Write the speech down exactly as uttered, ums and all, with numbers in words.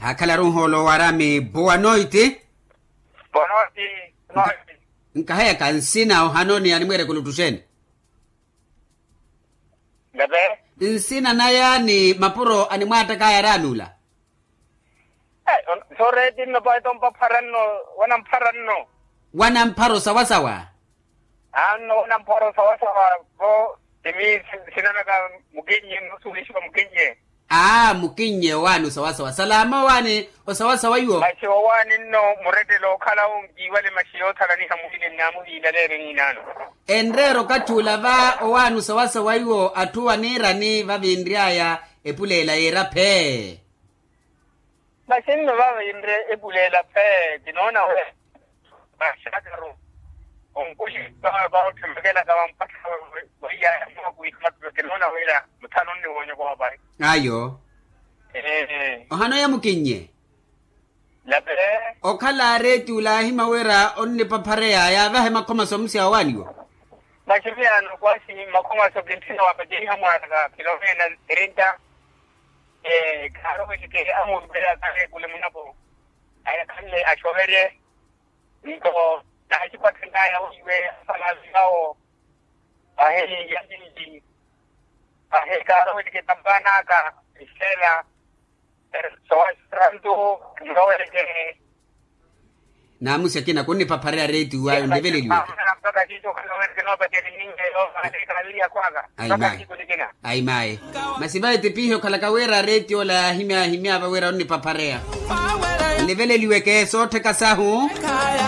Akhalaru nhoolo waraami boa noiti. Boa noiti. Nkaheyaka nsina ohanoni animweereke oluttuxeni? Nsina naya ni mapuro animwaattakaya araami ula. Soreeti nno paito mpapharanno. Wanampharanno. Wanamphara osawasawa. Anno wanamphara osawasawa. Vo timi sinanaka mukinnye nno suulixiwa mukinnye. Aa mukinnye owaani osawasawa salama owaani osawasawa iwo. Maxi owaani nno murettelo okhala onkiiwale maxi yoothalaniha muhile nnaamuhiilaleerye niinaano. Enreera okathi ula va owaani osawasawa iwo atthu aniirani vavinry'aya epuleela yiira phee. Maxi nno vavinre epuleela phee kinoona wira maxakaru onkuxi vaotthimakelaka vampattha. Vaiyaya mwakuiha mattulo kinoona wira muthano nniwoonyoko vapayi. Ayo. Ohanoya mukinnye. Lapele. Okhala areeti ula ahima wira onnipaphareya yaavahe makhomaso musi awaaniwo. Maximiyano kwasi makhomaso kintthina wapateliha mwaaraka kilomena trinta. Khaaroweleke amurupeya kareekule munapo. Ayakhanle axoverye. Nto naaxipathen'aya weiwe asalaavi awo. Ahi yalili. Ahi kaaroweleke tampaan'aka. Isela. Sowasarantu. Nroweleke. Naamusi akina kunnipaphareya reetiyo ayo nliveleliweke. Ayi mayi. Masi vayi tipihi okhalaka wira reetiyo ola yaahimya yaahimya va wira onnipaphareya. Nliveleliweke soottheka sahu.